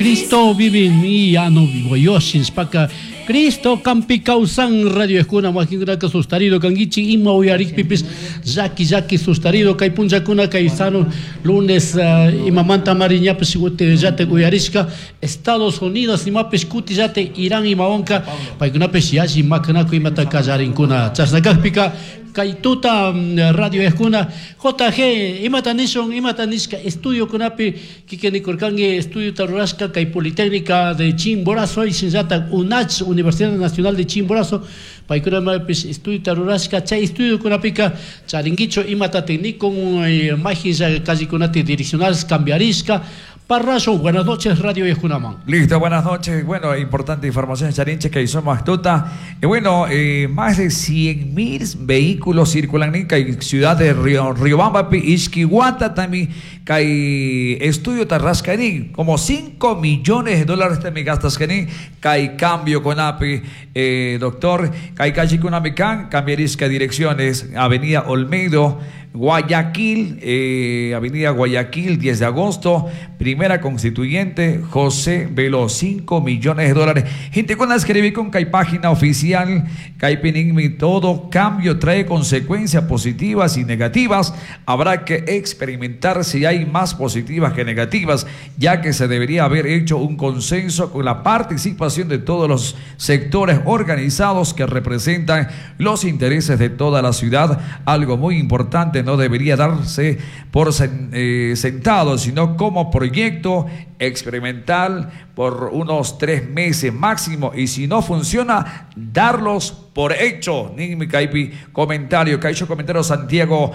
Cristo vive en mí, ya no vivo yo, shinshpaka Cristo kampi kawsan radio ejkuna wakinkunaka sustarido kankichik ima uyarikpipis llaki llaki sustarido kay punllakuna kay sano lunes imamanta mari ñapish llatak uyarishka Estados Unidos imapish kutillatik Irán imawanka paykunapish yalli makanakuy imata kallarinkuna chashna kakpika Kay tuta radio ejkuna JG imata nishun imata nishka estudiokunapi kikin nikurkanki estudiota rurashka kay Politécnica de Chimborazo y shinallatak UNACH Universidad Nacional de Chimborazo paykunapish estudiota rurashka chay estudiokunapika charinkichu imatatik nikun mayjinlla callekunatik direccionales cambiarishka Parrazo, buenas noches, Radio Yacunaman. Listo, buenas noches. Bueno, importante información, Charinche, que somos tuta. Y bueno, más de 100.000 vehículos circulan en ciudad de Río, Riobamba, Ishkiwata, también, kay estudio tarrascani, como 5 millones de dólares también gastas kay cambio con API, doctor, kay calle con cambiarisca direcciones, Avenida Olmedo, Guayaquil, Avenida Guayaquil, 10 de agosto, primera constituyente, José Veloz, 5 millones de dólares. Gente con la escribí con Kai página oficial, Kai Pinigmi, todo cambio trae consecuencias positivas y negativas. Habrá que experimentar si hay más positivas que negativas, ya que se debería haber hecho un consenso con la participación de todos los sectores organizados que representan los intereses de toda la ciudad. Algo muy importante, no debería darse por sentado, sino como proyecto experimental por unos 3 meses máximo, y si no funciona, darlos por hecho. Ninmi Kaipi, comentario, Caicho comentario Santiago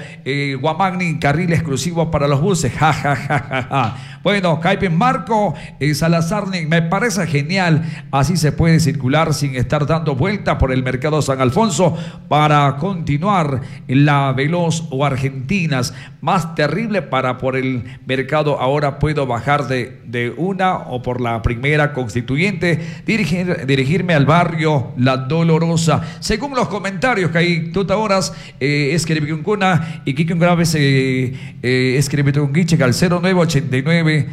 Guamagni, carril exclusivo para los buses, ja, ja, ja, ja, ja. Bueno, Kaipi Marco Salazar, me parece genial, así se puede circular sin estar dando vuelta por el mercado San Alfonso para continuar la Veloz o Argentinas, más terrible para por el mercado, ahora puedo bajar de una o por la primera constituyente, dirigirme al barrio La Dolorosa. Según los comentarios que hay tuta horas, escribí un cuna y Kike un grave escribí un guiche al 0989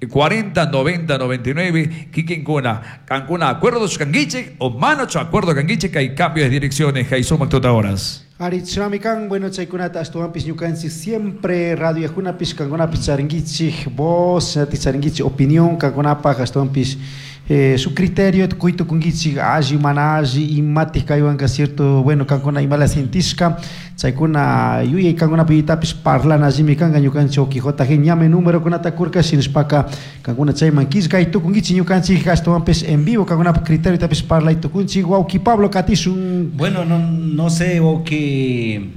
40 90 99, Kike Cuna, Cancuna, acuerdo canguiche o mano acuerdo canguiche que hay cambio de direcciones, que hay suma tuta horas. Arichamikan, bueno, chaykunata ashtawanpis ñukanchik siempre radio yakunapis kankunapis charinkichik voz, charinkichik opinión kankunapaj ashtawanpis su criterio kuytukunkichik alli mana alli imatij kaywanka cierto, bueno, kankuna imala sintishka chaykuna yuyay kankunapi yuytapis parlana allimi kanka ñukanchik uki JG ñame número kunata kurka shinashpaka kankuna chayman killkay tukunkichik ñukanchik ashtawanpis en vivo kankunapaj criterio tapis parlay tukunchik. Wawki Pablo katishun. Bueno, no, no sé, wawki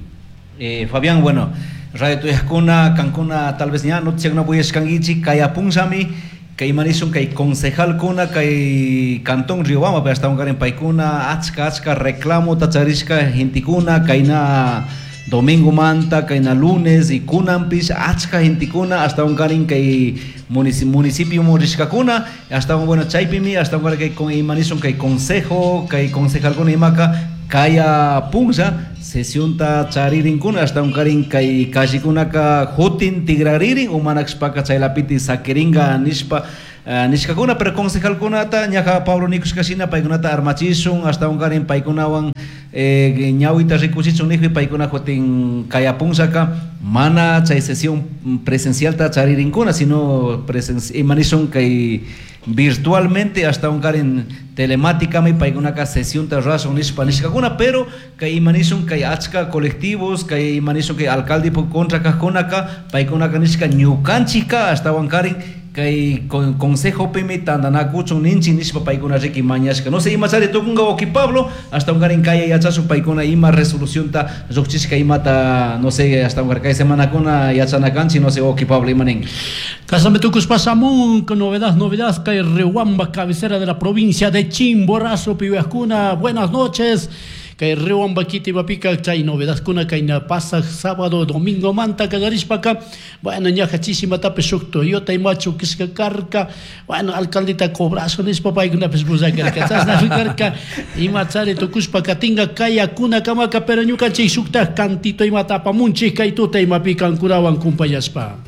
Fabián, bueno, Radio Tuyajkuna, kankuna tal vez ña noticiakuna uyashkankichik kay apunllami kay imanishun kay concejalkuna kay cantón Riobamba, pero hasta un paykuna achka achka reclamo tacharishka gentikuna kayna domingo manta kayna lunes y kunanpish achka gentikuna hasta un kay municipio rishkakuna hasta un bueno chaypimi hasta un kay con imanishun kay consejo kay concejalkuna imaka kaya punlla sesionta charirinkuna hasta un karin kay kallikunaka jutin tigraririn umanakshpaka chaylapiti sakiringa nishpa nishkakuna, pero concejalkunata ñaja Pablo nikushkashina paykunata armachishun hasta un karin paykunawan ñawita rikuchichun nijpi paykuna jutin kaya punllaka mana chay sesión presencialta charirinkuna sino imanishun kay virtualmente hasta un karin telemáticamente paykunaka sesión ta rurashun nishpa nishkakuna, pero kay imanishun kay achka colectivos kay imanishun kay alcalde contra kajkunaka paykunaka nishka ñukanchikka hasta un karin kay consejo pimi tantanakuchun ninchik nishpa paykuna riki mañashka. No sé imachari tukunka wawki Pablo hasta un karin kaya yachashun paykuna ima resolución ta lluqchishka imata no sé hasta un kay semanakuna yachanakanchik no sé wawki Pablo ima ninki. Casame tukuspa shamun con novedad, novedad kay Riobamba, cabecera de la provincia de Chimborazo, piwajkuna, buenas noches. Kay Riobamba kiti mapika chay novedad kuna kay na pasa sábado domingo manta kallarishpaka bueno ñaja chisimatapi shuk Toyota imachu kishka karka bueno alcaldita cobrazo nishpa paykunapish bullakarka chashna karka imachari tukushpa katinga kaya kuna kamaka pero ñukanchik shukta cantito imata apamunchik kay tuta imapi kankunawan kumpayashpa.